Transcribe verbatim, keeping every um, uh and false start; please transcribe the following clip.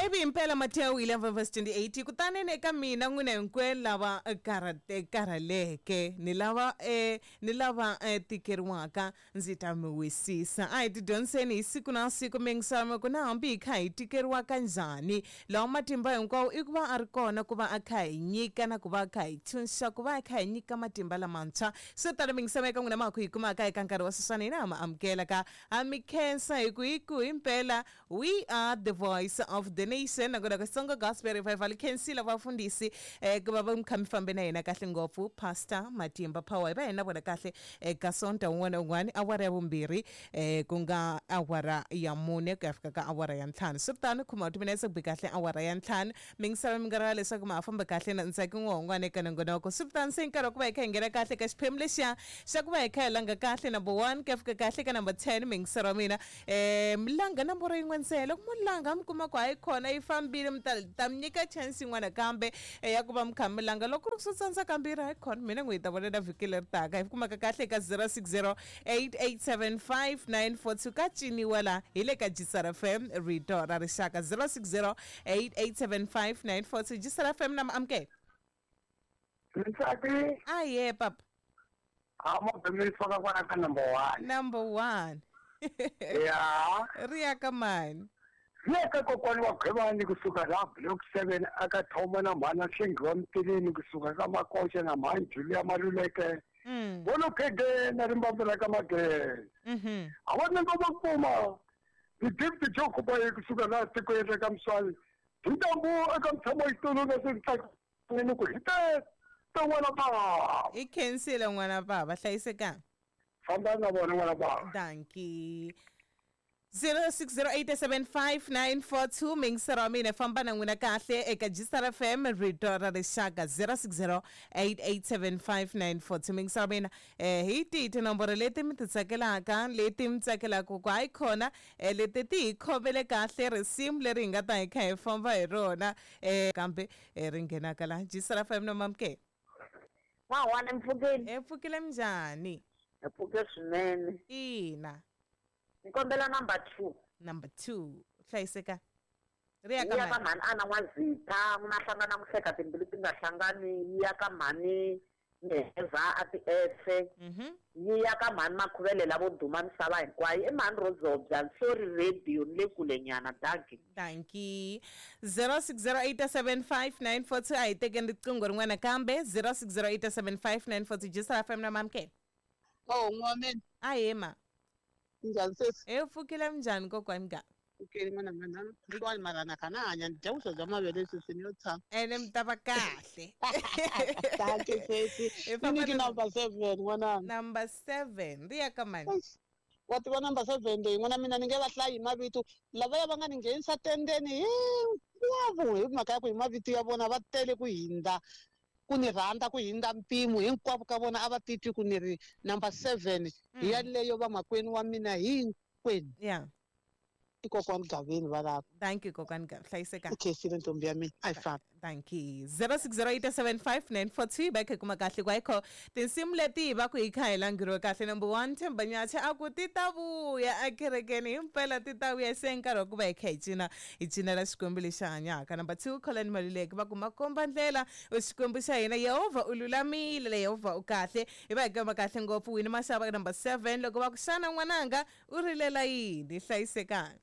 Ivi himpela Matthew eleven verse twenty-eight kutani eka mina n'wina hinkwenu lava karhate karhaleke ni lava eh ni lava eh, tikeriwaka ndzi ta mi wisisa. A hi tidyondziseni hi siku na siku mingisamo ku na hambi hi kha hi tikeriwa kanjhani lawa matimba hinkwawo i ku va a ri kona ku va a kha hi nyika na ku va a kha hi tshunxa ku va a kha hi nyika matimba lamantshwa. Swo tala mingisamo eka n'wina ma ku hi kumaka eka nkarhi wa sweswiwani hina ha mi amukela ka ha mi khensa hi ku hi ku himpela we are the voice of the nation. Nakona ka Xitsonga Gospel Revival khensile vafundhisi eh ku va va mi kha mi fambe na hina kahle ngopfu Pastor Matimba Power hi va hina vona kahle eka Sonta wun'wana na wun'wana awara ya vumbirhi eh ku nga awara ya mune ku ya fika ka awara ya ntlhanu. Swi ri tano khoma timinetse ku bi kahle awara ya ntlhanu mi ngisava mi nga rivala leswaku ma ha famba kahle na Ntsaki N'wahongwana eka nongonoko. Swi ri tano se nkarhi wa ku va hi kha hi nghena kahle ka xiphemu lexiya xa ku va hi kha hi langa kahle number one ku ya fika kahle ka number ten mingisero wa mina eh mi langa nomboro yin'we ntsena loko mo langa mi kuma ku hayi khona yi fambile mi ta ta mi nyika chance yin'wana kambe ya ku va mi kha mi langa loko ku ri ku swi tsandza kambirhi hayi khona mina n'wi hi ta vona na vhiki leri taka hi kumaka kahle eka zero six zero eight eight seven five nine four two ka ciniwa la hi le ka Jisara F M rito ra rixaka zero six zero eight eight seven five nine four two Jisara F M na amukela. Ntsaki. Aye papa. Amo bemifaka kwala ka number one. Number one. Yeah. Ri ya ka mani? Yeka kokwani wa Gqibani kusuka la block seven aka thoma na mhana Hlengiwa Mtilini kusuka ka Makoxa na mhani Julia Maluleke. Mm. Volo khege na rimbambu ra ka Magele. Mhm. A va na ngoma kuma. Ni deputy Joe Kubayi kusuka la tikweni ra ka Mswali. Ntambu eka mtshamo xitulu na swi ni ku hi te te n'wana baba. I khensile n'wana baba hlayisekanga. Famba na vona n'wana baba. Dankie. zero six zero eight seven five nine four two mingisero wa mina famba na n'wina kahle eka Jisara F M rito ra rixaka zero six zero eight eight seven five nine four two mingisero wa mina eh hi tihi tinomboro leti mi ti tsakelaka leti mi tsakelaka ku hayi khona eh, leti ti hi khomele kahle risimu leri hi nga ta hi kha hi famba hi rona eh kambe eh, ri nghenaka la Jisara F M no mamukela. N'wahwana mpfukeni. E pfukile minjhani? Hi pfuke swinene. Ina. Nkombela number two. Number two. Hlayiseka. Ri ya ka ya ka mhani ana N'wazitha n'wina hlangana muhleka timbilu ti nga hlangani yi ya ka mhani Meheza a ti efe. Mhm. Yi ya ka mhani Makhuvele lavo duma misava hinkwayo i mhani Rozobya sorry radio ni le kule nyana dankie. Dankie. zero six zero eight seven five nine four two a hi tekeni riqingho rin'wana kambe zero six zero eight seven five nine four two Jisara F M na mamukela. Oh n'wameni. Ahee ma. Njhani sesi? E pfukile minjhani kokwani ga? Pfukile n'wana mina hlwani mara na khana hanya ni dya vuswa bya mavele sweswi ni yo tshama. Ene mi ta va kahle. Dankie sesi. Ni nyiki number seven n'wananga. Number seven ri ya ka mani? Wa tiva number seven leyi n'wana mina ni nge va hlayi hi mavito lavaya va nga ni nghenisa tendeni hinkwavo hi mhaka ya ku hi mavito ya vona va tele ku hindza ku ni rhandza ku hindza mpimo hinkwavo ka vona a va titwi ku ni ri number seven hi yaleyo vamakwenu wa mina hinkwenu. Yeah. I kokwani Gaveni valava. Thank you kokwani Gavi hlayiseka. I khensile ntombi ya mina a yi fambi. Thank you. zero six zero eight seven five nine four two va kha kuma kahle kwayikho tinsimu leti hi va ku hi kha hi languriwe kahle number one Themba Nyatshe a ku ti ta vuya ekerekeni himpela ti ta vuya se nkarhi wa ku va hi kha hi cina hi cinela Xikwembu lexi hanyaka. Number two Colin Maluleke va ku makomba ndlela Xikwembu xa hina Yehovha u lulamile Yehovha u kahle hi va hi kamba kahle ngopfu Winnie Mashava number seven loko va ku xana n'wananga u rilela yini hlayisekani.